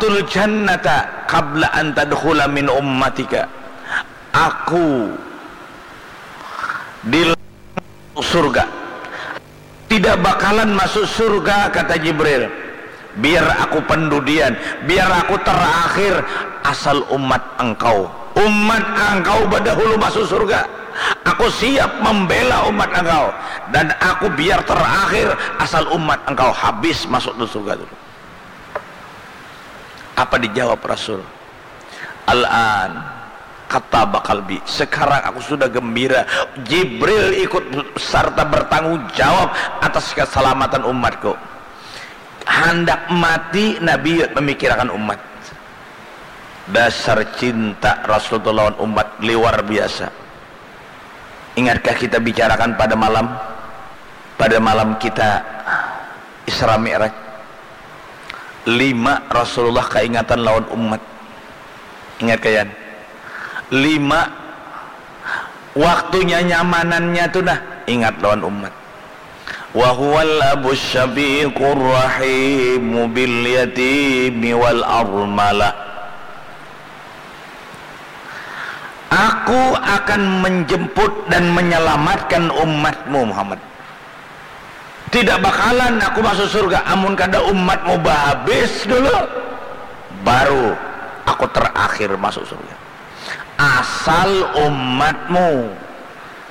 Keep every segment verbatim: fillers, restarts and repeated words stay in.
"Adkhulul jannata qabla an tadkhula min ummatika." Aku di surga. "Tidak bakalan masuk surga," kata Jibril, "biar aku pendudian, biar aku terakhir, asal umat engkau. Umat engkau badahulu masuk surga. Aku siap membela umat engkau. Dan aku biar terakhir, asal umat engkau habis masuk ke surga dulu." Apa dijawab Rasul? "Al-an kathaba qalbi." Sekarang aku sudah gembira. Jibril ikut serta bertanggung jawab atas keselamatan umatku. Handak mati, Nabi memikirkan umat. Dasar cinta Rasul tu lawan umat liwar biasa. Ingatkah kita bicarakan pada malam, pada malam kita Isra Mi'raj? Lima Rasulullah kaingatan lawan umat. Ingat kayan? Lima waktunya nyamanannya tu nah, ingat lawan umat. "Wa huwal abus syafiqur rahimu bil yatimi wal armala." "Aku akan menjemput dan menyelamatkan umatmu, Muhammad. Tidak bakalan aku masuk surga amun kada umatmu bahabis dulu, baru aku terakhir masuk surga. Asal umatmu,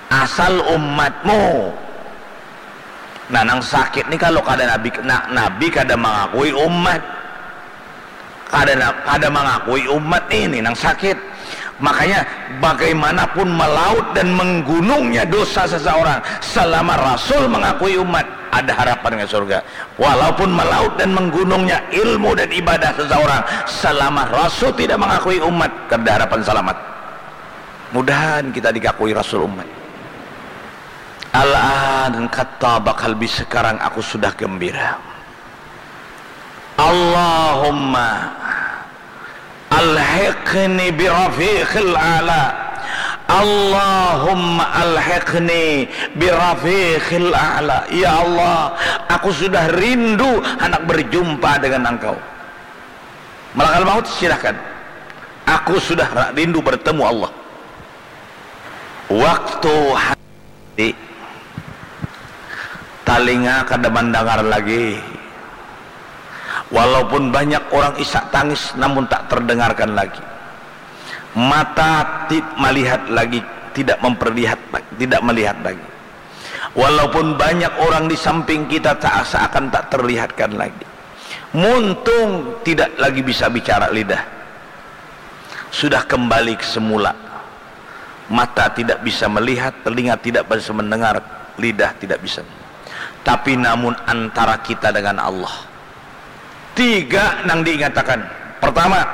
asal umatmu." Nah, nang sakit ni kalau kada nabi, na-, nabi kada mangakui umat. Kada na-, kada mangakui umat ini nang sakit. Makanya, bagaimanapun melaut dan menggunungnya dosa seseorang, selama Rasul mengakui umat, ada harapan ke surga. Walaupun melaut dan menggunungnya ilmu dan ibadah seseorang, selama Rasul tidak mengakui umat, kada harapan selamat. Mudahan kita dikakui Rasul umat. "Al-an kathaba qalbi," sekarang aku sudah gembira. "Allahumma alhiqni birafiqil a'la. Allahumma alhiqni birafiqil a'la." Ya Allah, aku sudah rindu hendak berjumpa dengan Engkau. Malakal maut, silahkan. Aku sudah ra-, rindu bertemu Allah. Waktu hati, talinga kada mandangar lagi. Walaupun banyak orang isak tangis, namun tak terdengarkan lagi. Mata ti-, malihat lagi, tidak memperlihat, tidak melihat lagi. Walaupun banyak orang di samping kita, tak, seakan tak terlihatkan lagi. Muntung tidak lagi bisa bicara lidah. Sudah kembali ke semula. Mata tidak bisa melihat, telinga tidak bisa mendengar, lidah tidak bisa. Tapi namun antara kita dengan Allah. Tiga nang diingatakan. Pertama,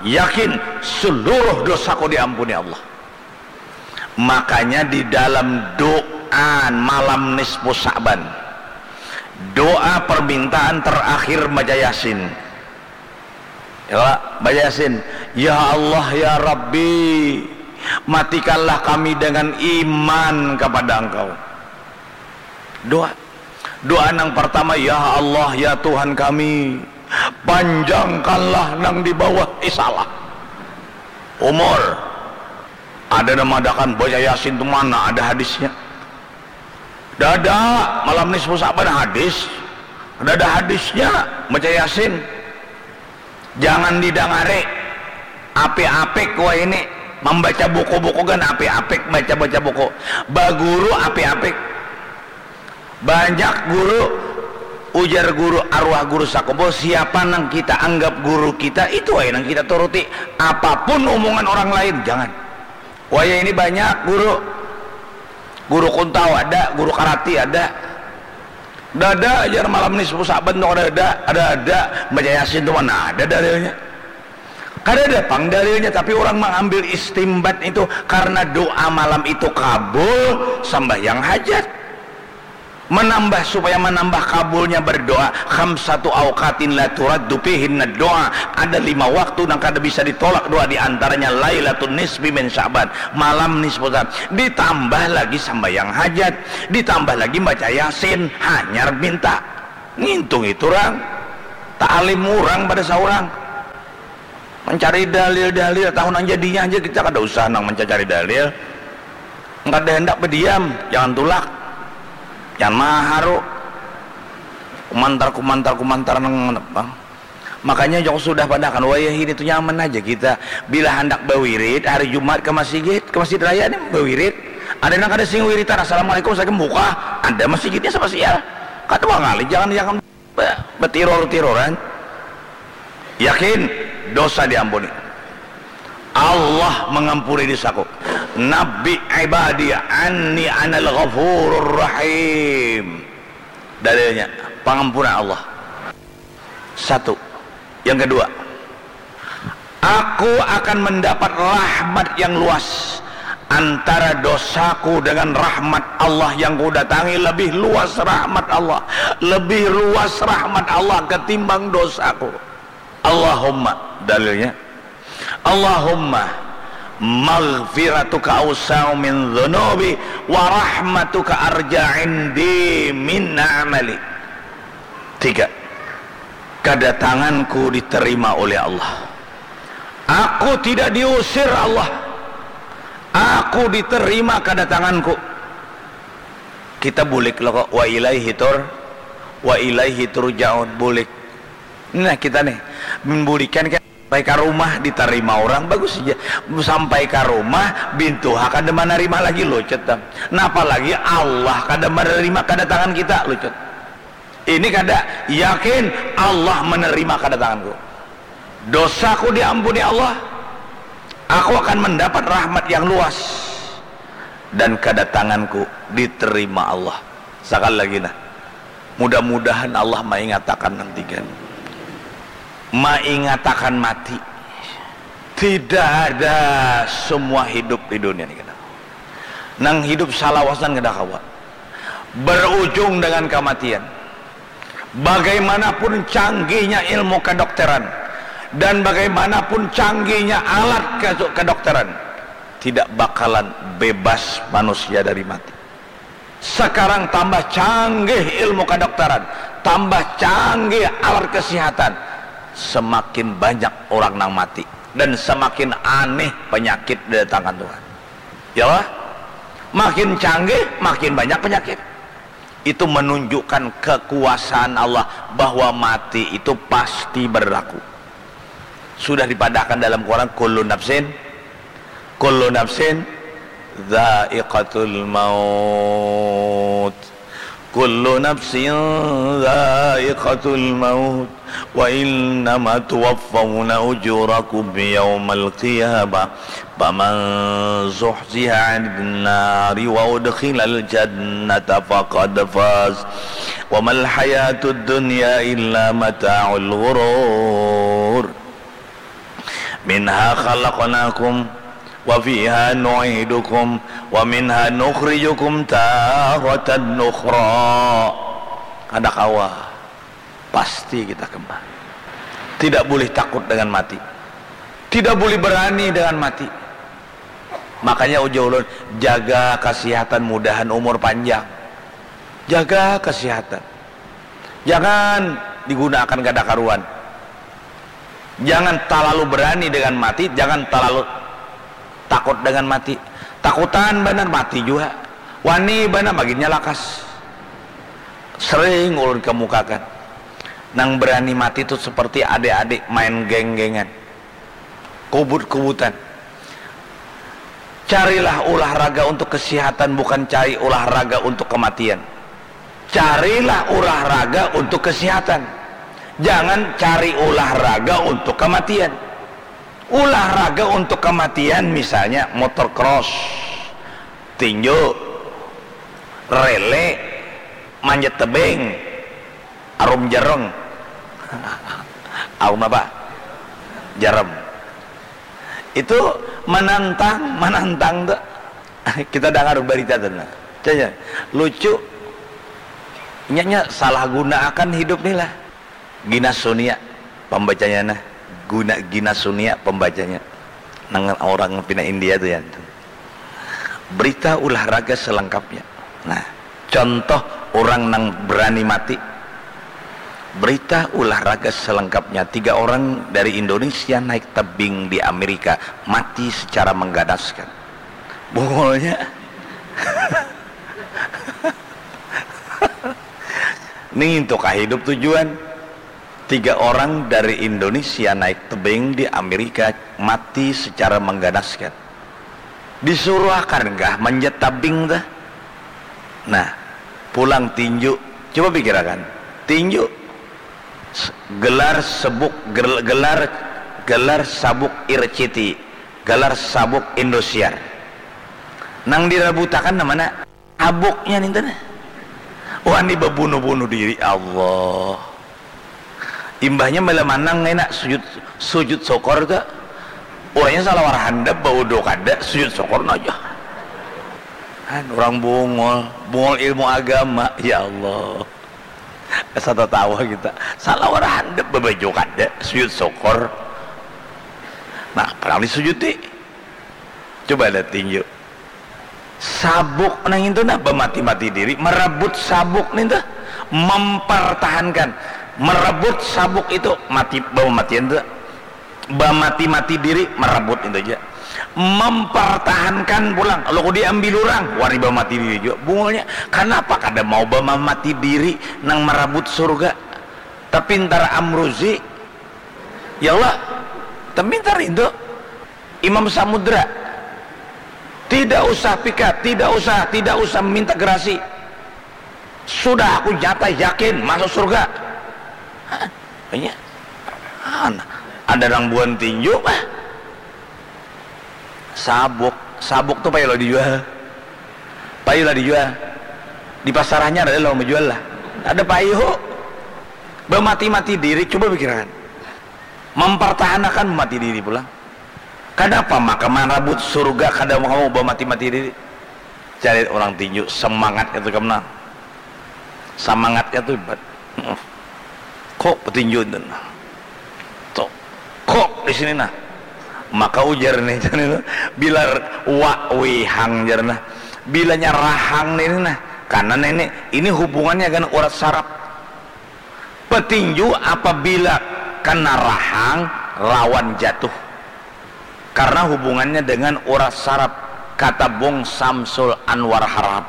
yakin seluruh dosaku diampuni Allah. Makanya di dalam doa malam nisfu Sa'ban, doa permintaan terakhir baca Yasin. Ya, baca Yasin. "Ya Allah, ya Rabbi, matikanlah kami dengan iman kepada Engkau." Doa. Doa nang pertama, "Ya Allah, ya Tuhan kami, panjangkanlah nang di bawah isalah umur." Ada nang madakan baca Yasin tu mana ada hadisnya? Dada, malam nisfu Sa'ban hadis. Dada hadisnya baca Yasin. Jangan didangari. Apik-apik wahini. Mambaca buku-buku kan apik-apik, baca-baca buku. Baguru apik-apik. Banyak guru, ujar guru arwah guru sakumpul, siapa nang kita anggap guru kita, itu aja nang kita turuti. Apapun omongan orang lain, jangan. Wayah ini banyak guru. Guru kuntau ada, guru karati ada. Dada ajar malam nisfu Sa'ban tu kada ada, ada, ada. Baca Yasin tu mana ada dalilnya. Kada ada pang dalilnya, tapi orang mengambil istimbat itu karena doa malam itu kabul, sambahyang hajat. Menambah, supaya menambah kabulnya berdoa, khamsatu awqatin la turaddu fihinna doa. Ada lima waktu nang kada bisa ditolak doa, di antaranya Lailatun Nisfi min Sya'ban, malam nisfu Sya'ban. Ditambah lagi sambahyang hajat, ditambah lagi baca Yasin, hanyar minta. Ngintung itu orang. Ta'alim orang pada saurang. Mencari dalil-dalil, tahu nang jadinya aja, kita kada usah nang mencari dalil. Kada hendak berdiam, jangan tulak, jangan maharu. Kumantar, kumantar, kumantar nang apa. Makanya jong sudah padahakan, wayah ini tu nyaman aja kita. Bila handak bawirid hari Jumat ke masjid, ke Masjid Raya ni bawirid. Ada nang kada sing wiritan, "Assalamualaikum, saya buka." Ada masjidnya sama sial. Kada bangali, jangan, jangan ba-, batiror-tiroran. Yakin, dosa diampuni. Allah mengampuni dosaku. "Nabbi ibadi anni anal ghafurur rahim." Dalilnya, pengampunan Allah. Satu. Yang kedua, aku akan mendapat rahmat yang luas. Antara dosaku dengan rahmat Allah yang kudatangi, lebih luas rahmat Allah. Lebih luas rahmat Allah ketimbang dosaku. Allahumma, dalilnya, Allahumma maghfiratuka awsa'u min dzunubi wa rahmatuka arja indi min amali. Tiga, kadatanganku diterima oleh Allah. Aku tidak diusir Allah. Aku diterima kadatanganku. Kita bulik lo kok, wa ilaihi tur, wa ilaihi turja'un, bulik. Nah, kita nih, membulikan kan sampai ke rumah diterima orang, bagus saja. Sampai ke rumah, bintuha kada menerima lagi, lucut tam. Nah, apalagi Allah kada menerima kedatangan kita, lucut. Ini kada yakin Allah menerima kedatanganku. Dosaku diampuni Allah. Aku akan mendapat rahmat yang luas. Dan kedatanganku diterima Allah. Sekali lagi nah. Mudah-mudahan Allah mengatakan nanti kan. Mengatakan mati. Tidak ada semua hidup di dunia ini. Nang hidup salawasan kada kawa. Berujung dengan kematian. Bagaimanapun canggihnya ilmu kedokteran dan bagaimanapun canggihnya alat ke-, kedokteran, tidak bakalan bebas manusia dari mati. Sekarang tambah canggih ilmu kedokteran, tambah canggih alat kesehatan, semakin banyak orang nang mati dan semakin aneh penyakit didatangkan Tuhan. Ya Allah, makin canggih, makin banyak penyakit. Itu menunjukkan kekuasaan Allah bahwa mati itu pasti berlaku. Sudah dipadahkan dalam Quran, kullu nafsin, kullu nafsin dzaiqatul maut. Kullu nafsin dzaiqatul maut. Wa innama tuwaffawna ujurakum yaumal qiyamah. Faman zuhziha 'anin nari wa udkhilal jannata faqad faz. Wa mal hayatud dunya illa mata'ul ghurur. Minha khalaqnakum wa fiha nu'idukum wa minha nukhrijukum taratan ukhra. Kada kawa. Pasti kita kembali. Tidak boleh takut dengan mati. Tidak boleh berani dengan mati. Makanya ujar ulun, jaga kesehatan, mudahan umur panjang. Jaga kesehatan. Jangan digunakan kada karuan. Jangan terlalu berani dengan mati, jangan terlalu takut dengan mati. Takutan banar mati jua. Wani banar maginnya lakas. Sering ulun kemukakan. Nang berani mati tu seperti adik-adik main geng-gengan. Kubut-kubutan. Carilah olahraga untuk kesehatan, bukan cari olahraga untuk kematian. Carilah olahraga untuk kesehatan. Jangan cari olahraga untuk kematian. Olahraga untuk kematian misalnya motor cross, tinju, rele, manjat tebing, arum jerung. Arum apa? Jerem. Itu menantang, menantang tuh. Kita dengar berita tuh nah. Canya, lucu. Inya salah gunakan hidup nih lah. Ginas Sunia pembacanya nah. Guna Ginas Sunia pembacanya. Nang orang pina India tuh ya. Berita olahraga selengkapnya. Nah, contoh orang nang berani mati. Berita olahraga selengkapnya, tiga orang dari Indonesia naik tebing di Amerika, mati secara mengganaskan. Bungulnya. Nih, untuk hidup tujuan. Tiga orang dari Indonesia naik tebing di Amerika, mati secara mengganaskan. Disuruh akan kah manjat tabing tuh? Nah, pulang tinju. Coba pikirakan. Tinju. S-, gelar sebuk, gel-, gelar, gelar sabuk Irciti, gelar sabuk Indosiar. Nang dirabutakan namanya sabuknya nih tuh. Wah, ini babunuh-bunuh diri, Allah. Imbahnya malah manang enak sujud, sujud syukur tuh. Orangnya salah warhandap, baudo kada, sujud syukur aja. Kan orang bungul, bungul ilmu agama, ya Allah. Asa tatawa kita. Salah warhandap, babaju kada, sujud syukur. Nah, padahal disujudi. Coba lihat tinju. Sabuk nang itu nah, bamati-mati diri, merebut sabuk nih tuh, mempertahankan, merebut sabuk itu, mati, bamatian tuh, bamati-mati diri, merebut itu aja, mempertahankan pulang, lo diambil orang, wani bamati diri juga, bungulnya, kenapa kada mau bamati diri nang merebut surga, tapi ntar Amruzi, ya Allah, tapi ntar itu, Imam Samudra, tidak usah pikat, tidak usah, tidak usah minta gerasi. Sudah aku nyata yakin masuk surga. Hah? Banyak. Ada nang buan tinju, ah. Sabuk, sabuk tuh payu lah dijual. Payu lah dijual. Di pasar hanyar ada lo menjual lah. Ada payu. Bamati-mati diri, coba pikiran. Mempertahankan mati diri pulang. Kenapa maka marabut surga kada mau bamati-mati diri? Cari orang tinju, semangatnya tuh kemana? Semangatnya tuh hebat. Kok petinju itu nah? Tuh, kok di sini nah? Maka ujar nih, bila wa wihang jar nah. Bilanya rahang nih nah. Karena nenek ini hubungannya dengan urat saraf. Petinju apabila kena rahang, rawan jatuh. Karena hubungannya dengan urat saraf, kata Bung Samsul Anwar Harahap.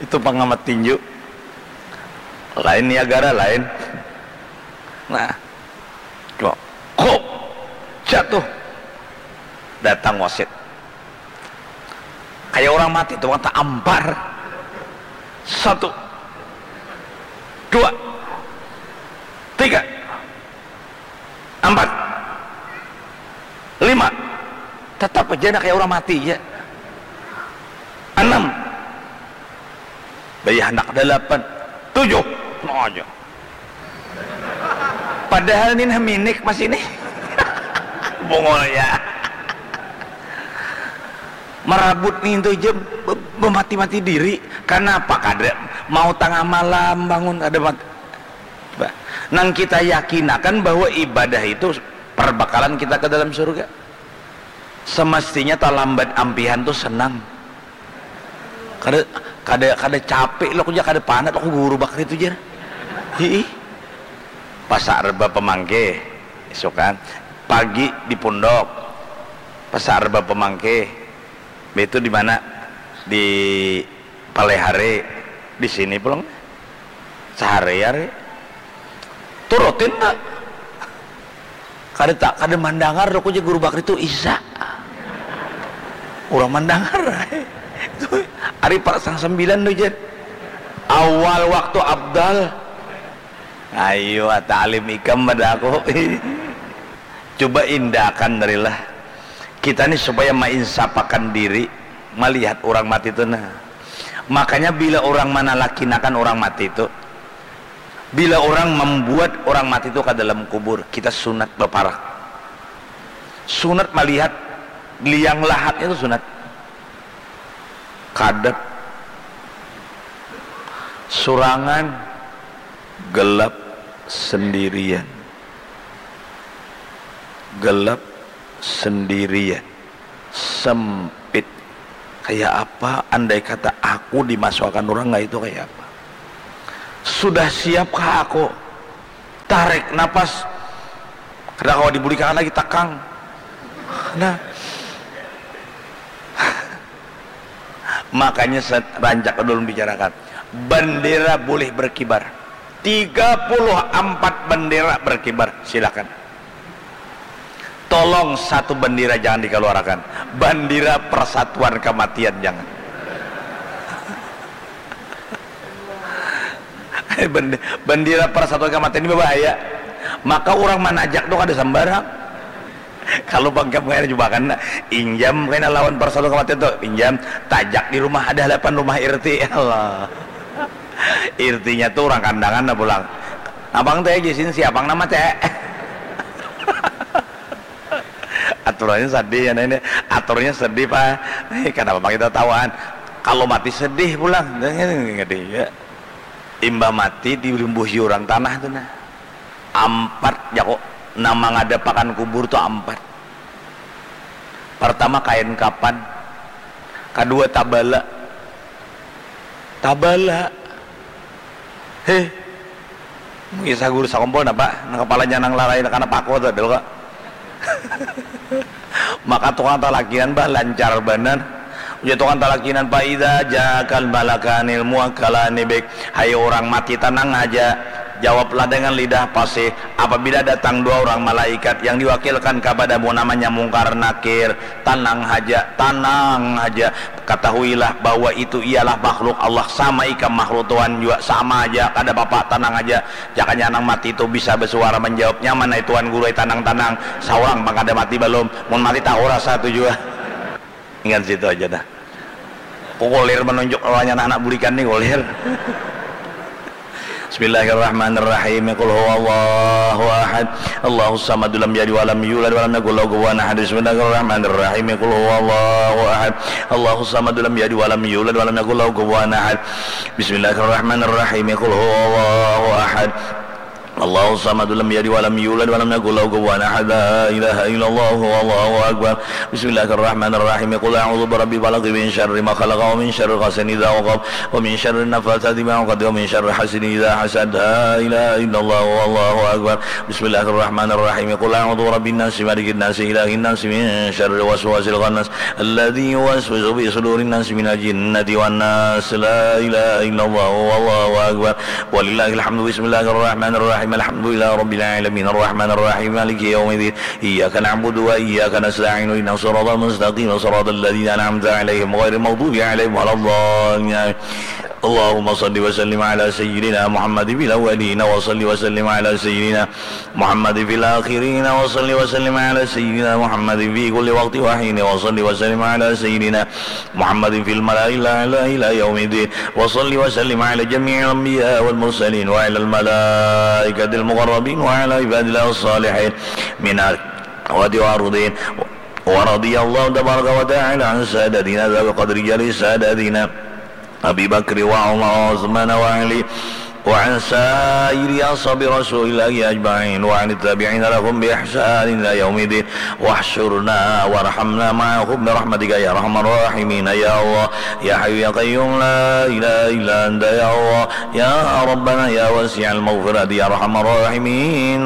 Itu pengamat tinju. Lain Niagara, lain. Nah, kok jatuh. Datang wasit. Kayak orang mati tuh, tampar. Satu, dua, tiga, empat, lima. Tetap aja nak kayak orang mati ya. Enam. Bayah anak delapan, tujuh. Nah aja. Padahal nih minik masih nih. Bungulnya. Marabut nih itu aja be-, bemati-mati diri. Kenapa kada mau tengah malam bangun ada mat-, bah. Nang kita yakinakan bahwa ibadah itu perbekalan kita ke dalam surga. Semestinya talambat ampihan tuh senang. Kada, kada, kada capek lo, kada panat lo, guru bakri tu jar. Hiih. Pasak reba pemangke, isukan. Pagi di pundok. Pasak reba pemangke. Itu di mana? Di Palehare. Di sini pulang. Sehari-hari. Turutin tak? Kada tak, kada mandangar lo, ku jar guru bakri tu isa. Urang mandangar. Itu hari pasang sembilan tu jar. Awal waktu abdal. Ayo, ata alim ikam pada aku. Coba indakan darilah. Kita ni supaya mainsapakan diri, malihat urang mati tu nah. Makanya bila urang manalakinakan urang mati tu, bila urang mambuat urang mati tu ka dalam kubur, kita sunat baparak. Sunat malihat liang lahatnya tu sunat. Kadap, surangan, gelap, sendirian. Gelap, sendirian, sempit. Kayak apa andai kata aku dimasukakan urang kaya itu, kayak apa? Sudah siapkah aku? Tarik napas. Kada kawa dibulikangan lagi takang. Nah. Makanya rancak dulu bicarakan. Bendera boleh berkibar. Tiga puluh empat bendera berkibar. Silakan. Tolong satu bendera jangan dikeluarkan. Bendera persatuan kematian jangan. Bendera persatuan kematian ini berbahaya. Maka orang manajak tu kada sembarang. Kalau bangkam kena juga kena injam kena lawan persatuan kematian tu injam tajak di rumah ada hadapan rumah irti Allah. Irtinya tu orang kandangan lah pulang. Abang teh jisin siapang nama teh. Aturannya sedih ya ini. Aturnya sedih pak. Kenapa kita tawaan? Kalau mati sedih pulang. Ngedi ya. Imbah mati dirimbuhi orang tanah tu nah. Ampat jako nama ngadapakan kubur tu ampat. Pertama kain kapan, kedua tabala. Tabala. Heh. Mungkin sagur sakumpul napa? Nang kepalanya nang larai kana paku tu ada kok. Maka tukang talakinan bah lancar banar. Ujar tukang talakinan, "Fa idza ja'akal malakanil muwakkalani bik." Hai orang mati, tenang aja. Jawablah dengan lidah fasih. Apabila datang dua orang malaikat yang diwakilkan kepadamu namanya Mungkar Nakir, tenang aja, tenang aja. Ketahuilah bahwa itu ialah makhluk Allah sama ikam makhluk Tuhan juga sama aja, kada apa-apa, tenang aja. Jakanya nang mati itu bisa bersuara menjawab, "Nyaman ai Tuan Guru ai, tanang-tanang, saurang pang kada mati balum, mun mati tahu rasa tu jua." Ingat situ aja dah. Ku kulir menunjuk lawannya anak-anak bulikan ni kulir. Bismillahirrahmanirrahim. Qul huwallahu ahad. Allahus samad, lam yalid walam yulad walam yakul lahu kufuwan ahad. Bismillahirrahmanirrahim. Qul huwallahu ahad. Allahus samad, lam yalid walam yulad walam yakul lahu kufuwan ahad. Bismillahirrahmanirrahim. Qul huwallahu ahad. Allahus samad, lam yalid walam yulad walam yakul lahu kufuwan ahad. La ilaha illallah wallahu akbar. Bismillahirrahmanirrahim. Qul a'udzu birabbil falaq, min syarri ma khalaq, wa min syarri ghasiqin idza waqab, wa min syarri naffatsati fil 'uqad, wa min syarri hasidin idza hasad. La ilaha illallah wallahu akbar. Bismillahirrahmanirrahim. Qul a'udzu birabbin nas, malikin nas, ilahin nas, min syarril waswasil khannas, alladzi yuwaswisu fi sudurin nas, minal jinnati wan nas. La ilaha illallah wallahu akbar. Walillahil hamdu. Bismillahirrahmanirrahim. Alhamdulillahi rabbil alamin. Arrahmanirrahim. Maliki yaumiddin. Iyyaka na'budu wa iyyaka nasta'in. Ihdinas siratal mustaqim. Siratal ladzina an'amta 'alaihim ghairil maghdubi 'alaihim waladdallin. Allahumma shalli wa sallim ala sayyidina Muhammadin fil awwalin wa shalli wa sallim ala sayyidina Muhammadin fil akhirin wa shalli wa sallim ala sayyidina Muhammadin fi kulli waqtin wa hin wa shalli wa sallim ala sayyidina Muhammadin fil mala'il a'la ila yaumiddin wa shalli wa sallim ala jami'il anbiya wal mursalin wa ala al malaikatil muqarrabin wa ala ibadillah as-salihin minal amwati wal hadirin. Wa radiyallahu tabaraka wa ta'ala an sadatina dzil qadri jalil sadatina Abi Bakri wa Umar wa Utsman wa Ali wa an sairi ashabi Rasulillahi ajma'in wa an tabi'ina lahum bi ihsanin ila yaumiddin. Wahsyurna warhamna ma'ahum bi rahmatika ya arhamar rahimin ya Allah ya Hayyu ya Qayyum la ilaha illa anta ya Allah ya Rabbana ya wasi'al maghfirati ya arhamar rahimin.